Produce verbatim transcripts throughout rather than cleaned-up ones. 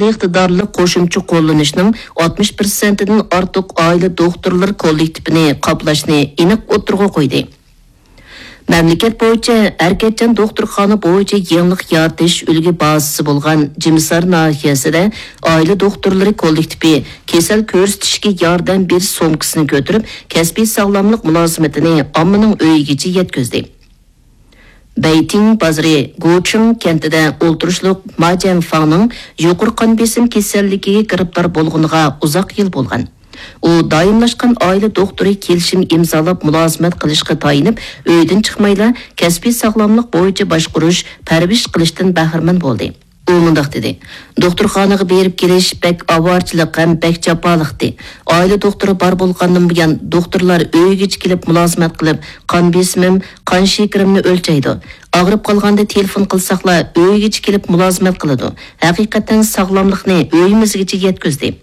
ئىقتىدارلىق قوشۇمچە قوللىنىشنىڭ ئاتمىش پىرسەنتىدىن ئارتۇق ئائىلە دوختۇرلىرى كوللېكتىپىنى قاپلاشنى ئېنىق ئوتتۇرىغا قويدى. مەملىكەت بويىچە ھەرىكەتچان دوختۇرخانا بويىچە يېڭىلىق يارىتىش ئۈلگە بازىسى بولغان جىمىسار ناھىيەسىدە ئائىلە دوختۇرلىرى كوللېكتىپى كېسەل كۆرسىتىشكە ياردەم بېرىش سومكىسىنى كۆتۈرۈپ، كەسپىي ساغلاملىق مۇلازىمىتىنى ئاممىنىڭ ئۆيىگىچە يەتكۈزدى. بەيتىڭ بازىرى گۇچىڭ كەنتىدە ئولتۇرۇشلۇق ما جيەنفاڭنىڭ يۇقىرى قان بېسىم كېسەللىكىگە گىرىپتار بولغىنىغا ئۇزاق يىل بولغان. ئۇ دائىملاشقان ئائىلە دوختۇرى كېلىشىم ئىمزالاپ مۇلازىمەت قىلىشقا تايىنىپ، ئۆيدىن چىقمايلا كەسپىي ساغلاملىق بويىچە باشقۇرۇش، پەرۋىش قىلىشتىن بەھرىمەن بولدى. ئۇ مۇنداق دېدى: «دوختۇرخانىغا بېرىپ كېلىش بەك ئاۋارىچىلىق ھەم بەك جاپالىقتى. ئائىلە دوختۇرى بار بولغاندىن بۇيان، دوختۇرلار ئۆيگىچە كېلىپ مۇلازىمەت قىلىپ، قان بېسىمىم، قان شېكىرىمنى ئۆلچەيدۇ. ئاغرىپ قالغاندا تېلېفون قىلساقلا، ئۆيگىچە كېلىپ مۇلازىمەت قىلىدۇ. ھەقىقەتەن ساغلاملىقنى ئۆيىمىزگىچە يەتكۈزدى.»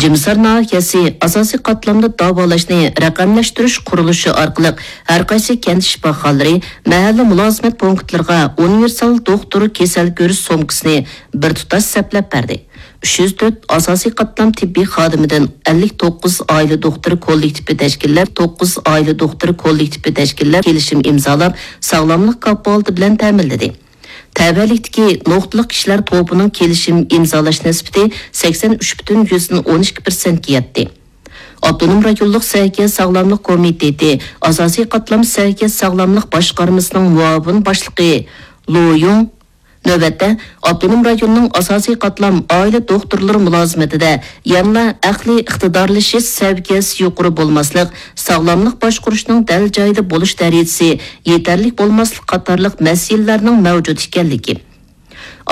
جىمىسار ناھىيەسى ئاساسىي قاتلامدا داۋالاشنى رەقەملەشتۈرۈش قۇرۇلۇشى ئارقىلىق ھەرقايسى كەنت شىپاخانىلىرى، مەھەللە مۇلازىمەت پونكىتلىرىغا ئۇنىۋېرسال دوختۇر كېسەل كۆرۈش سومكىسىنى بىر تۇتاش سەپلەپ بەردى. ئۈچ يۈز تۆت ئاساسىي قاتلام تېببىي خادىمىدىن ئەللىك توققۇز ئائىلە دوختۇرى كوللېكتىپى تەشكىللەپ، توققۇز ئائىلە دوختۇرى كوللېكتىپى تەشكىللەپ، كېلىشىم ئىمزالاپ، ساغلاملىق كاپالىتى بىلەن تەمىنلىدى. تەۋەلىكتىكى نۇقتىلىق كىشىلەر توپىنىڭ كېلىشىم ئىمزالاش نىسبىتى سەكسەن ئۈچ پۈتۈن يۈزدىن ئون ئىككى پىرسەنتكە يەتتى. ئاپتونوم رايونلۇق سەھىيە ساغلاملىق كومىتېتى ئاساسىي قاتلام سەھىيە ساغلاملىق باشقارمىسىنىڭ مۇئاۋىن باشلىقى لو يۇڭ نۆۋەتتە ئاپتونوم رايوننىڭ ئاساسىي قاتلام ئائىلە دوختۇرلىرى مۇلازىمىتىدە يەنىلا ئەقلىي ئىقتىدارلىشىش سەۋىيەسى يۇقىرى بولماسلىق، ساغلاملىق باشقۇرۇشنىڭ دەل جايىدا بولۇش دەرىجىسى يېتەرلىك بولماسلىق قاتارلىق مەسىلىلەرنىڭ مەۋجۇت ئىكەنلىكى،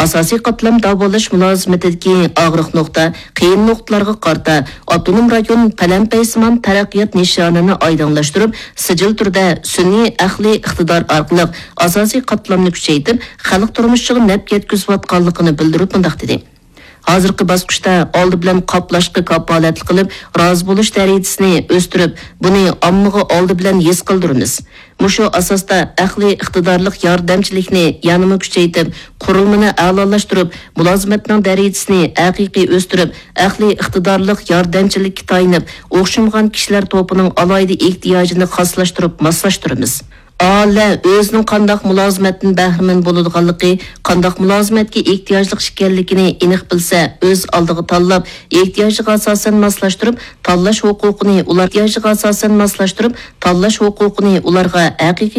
ئاساسىي قاتلام داۋالاش مۇلازىمىتىدىكى ئاغرىق نۇقتا، قىيىن نۇقتىلارغا قارىتا ئاپتونوم رايون پەلەمپەيسىمان تەرەققىيات نىشانىنى ئايدىڭلاشتۇرۇپ، سىجىل تۈردە سۈنئىي ئەقلىي ئىقتىدار ئارقىلىق ئاساسىي قاتلامنى كۈچەيتىپ، خەلق تۇرمۇشىغا نەپ يەتكۈزۈۋاتقانلىقىنى بىلدۈرۈپ مۇنداق دېدى: «ھازىرقى باسقۇچتا ئالدى بىلەن قاپلاشقا كاپالەتلىك قىلىپ، رازى بولۇش دەرىجىسىنى ئۆستۈرۈپ، بۇنى ئاممىغا ئالدى بىلەن ھېس قىلدۇرىمىز. مۇشۇ ئاساستا ئەقلىي ئىقتىدارلىق ياردەمچىلىكنى يەنىمۇ كۈچەيتىپ، قۇرۇلمىنى ئەلالاشتۇرۇپ، مۇلازىمەتنىڭ دەرىجىسىنى ھەقىقىي ئۆستۈرۈپ، ئەقلىي ئىقتىدارلىق ياردەمچىلىككە تايىنىپ، ئوخشىمىغان كىشىلەر توپىنىڭ ئالاھىدە ئېھتىياجىنى خاسلاشتۇرۇپ، ماسلاشتۇرىمىز.» ئالە ئۆزىنىڭ قانداق مۇلازىمەتتىن بەھرىمەن بولىدىغانلىقى، قانداق مۇلازىمەتكە ئېھتىياجلىق ئىكەنلىكىنى ئېنىق بىلسە، ئۆز ئالدىغا تاللاپ، ئېھتىياجىغا ئاساسەن ماسلاشتۇرۇپ، تاللاش ھوقۇقىنى ئۇلار ئېھتىياجىغا ئاساسەن ماسلاشتۇرۇپ، تاللاش ھوقۇقىنى ئۇلارغا ھەقىقىي